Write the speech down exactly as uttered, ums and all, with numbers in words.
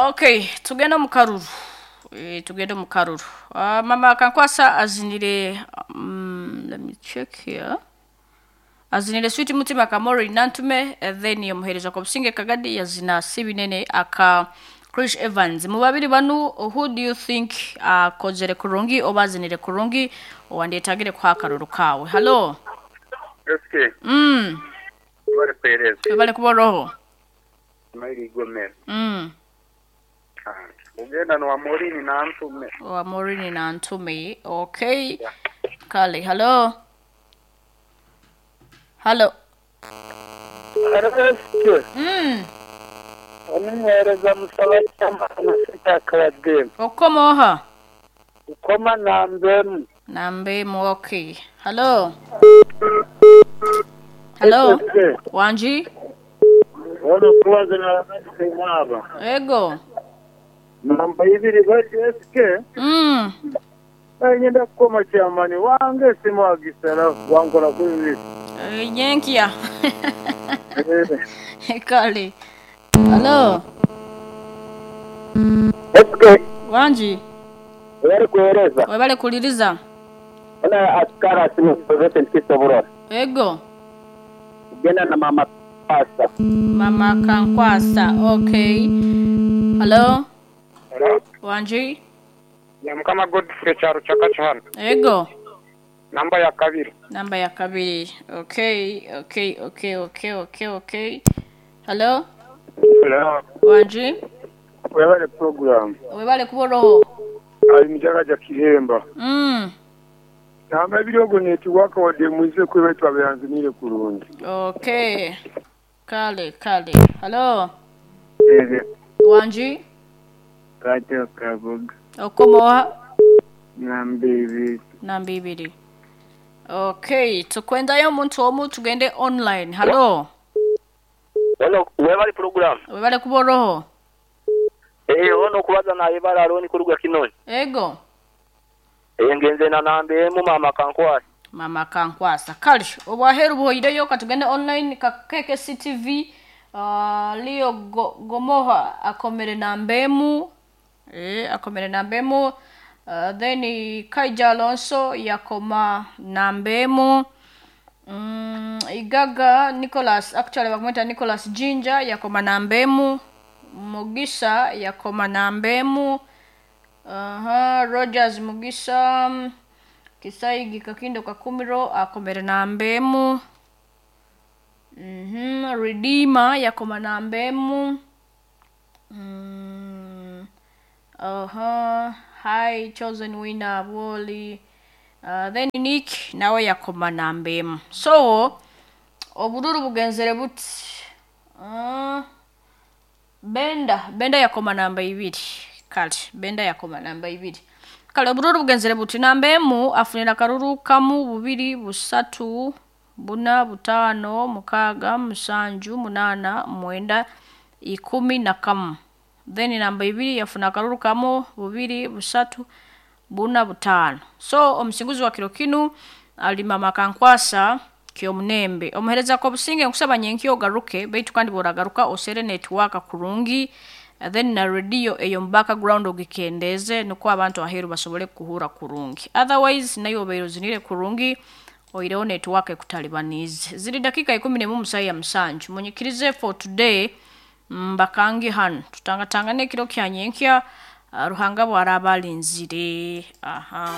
Okay, tugende omu karuru. Eh, tugende omu karuru. Uh, mama Kankwasa azinire um, let me check here. Azinire Sweet Mutima Kamori Nantume eh, then yomuhereza kwa Businge Kagadi yazina Sibinene aka Chris Evans. Mu babiri banu, who do you think akozere uh, kurungi oba azinire kurungi owandetagire kwa karuru kawe? Hello. S K. Mm. Bari kwereza. Bale kuba roho. Maili Gomez. Mm. Ugenda no Amorini na Ntume. Wa Morini na Ntume. Okay. Kale, hello. Hello. S K. Mm. Omuheereza musaba kyamana sikyakabademu. Okomoha. Ukoma nambemu. Nambe okay. Hello. Hello. S K. Wanji. Ono kubaza na Ego. Namba ibiri bati S K. Mm. Ngenda kukoma kyamani wange simu agisara wankora kuri. Eh, Nyenkia. Kale. Hello. S K. Wanji. Bari kuhereza. Webale kuliriza. Ona askara simu zote nkisoborora. Ego. Ugenda na mama pasa. Mama Kankwasa. Okay. Hello. Hello. Wanji. Ya Mukama Godfrey Charo Chakacho hano. Ego. Namba ya kabiri. Namba ya kabiri. Okay, okay, okay, okay, okay, okay. Hello. Hello. Wanji. Webale program. Webale kuboroho. Ali mjagaja kihemba. Mm. Namba ibiri ogo netiwaka wadde mwize kwe twabeyanzinire kurungi. Okay. Kale, kale. Hello. Eze. Wanji. Kacho kabuga. Okomoha. Namba ibiri. Namba ibiri. Okay, tukwendayo omuntu omu tugende online. Hello. Ono webali program. Webale kuboroho. Eh, ono kubaza na ibara aroni kuruga kinoni. Ego. Eh, ngenze na nambe emu mama Kankwasa. Mama Kankwasa. Kale, obwaheru buhoireyo katugende online ka K K C T V. Uh, Leo Go, Gomoha akomere nambemu. Eh, akomere nambemu. Uh, then Kaija Alonso yakoma nambemu. Mm, Igaga Nicholas, actually bakumwita Nicholas Jinja, yakoma nambemu. Mugisa yakoma nambemu. Aha, Rogers Mugisa mm, Kisaigi Kakindo Kakumiro akomere nambemu. Mhm, Redeemer yakoma nambemu. Mm, aha, hi Chosen Winner Woli. Uh, then Nick nawe yakoma nambemu. So obururu bugenzere buti. Uh, Benda, Benda yakoma namba ibiri. Kale, Benda yakoma namba ibiri. Kale obururu bugenzere buti namba emu afunira karuru kamu, bubiri, busatu, buna, butaano, mukaaga, musanju, munana, mwenda, ikumi na kamu. Then namba ibiri yafuna akaruru kamu, bubiri, busatu, buna, butaano. So omusinguzi wa kiro kinu ali mama Kankwasa Kyomunembe. Omuhereza ko Businge, nkusaba nyenkyo ogaruke, baitu kandi boragaruka osere network kurungi, then na radio eyo mu background ogikendeze nukwo abantu aheru basobole kuhura kurungi. Otherwise nayo obeire ozinire kurungi, oireho network ekutalibanize. Ziri dakika ikumi nemu musayi ya musanju. Munyikirize for today mbakangi hano tutangatangane ekiro kya nyenkya, uh, Ruhanga bwaraba alinzire. Aha.